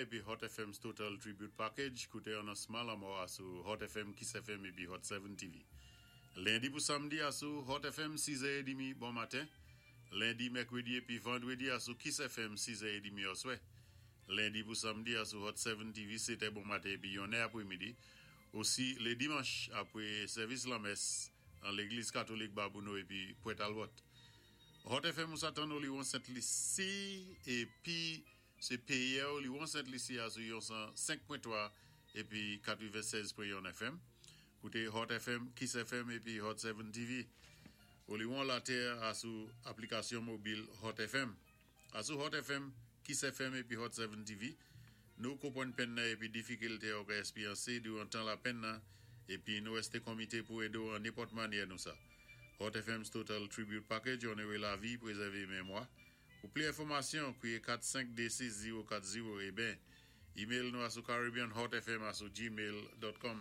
épi Hot FM's Total Tribute Package, kouté anonsman lanmò a sou Hot FM, Kiss FM épi Hot 7 TV. Lendi pou samdi a sou Hot FM 6 è édmi bon maten, lendi, mèkwédi épi vandwédi a sou Kiss FM 6 è édmi òswè. Lendi pou samdi a sou Hot 7 TV 7 è bon maten épi 1 è apwémidi. Osi lé dimanch apwé sèvis lanmès an légliz katolik Babouno épi Pwent Talbot. Hot FM ou sa tann Oliwon Sent Lisi épi sé péyè Oliwon Sent Lisi a sou yon 105.3 épi 96.1 FM. Koute Hot FM, Kiss FM épi Hot 7 TV. Oliwon Latè a sou aplikasyon mobil Hot FM. A sou Hot FM, Kiss FM épi Hot 7 TV, nou konpwann penn nan épi difikilté ou ka èspéryansé diwan tan lapenn nan épi nou èsté konmité pou édé-w an nenpòt manyè nou sa. Hot FM's Total Tribute Package, Onoré lavi, prézèvé mémwa. Pou pli enfòmasyon, kwiyé 4526040 é ben, email nou a sou caribbeanhotfm a sou gmail.com.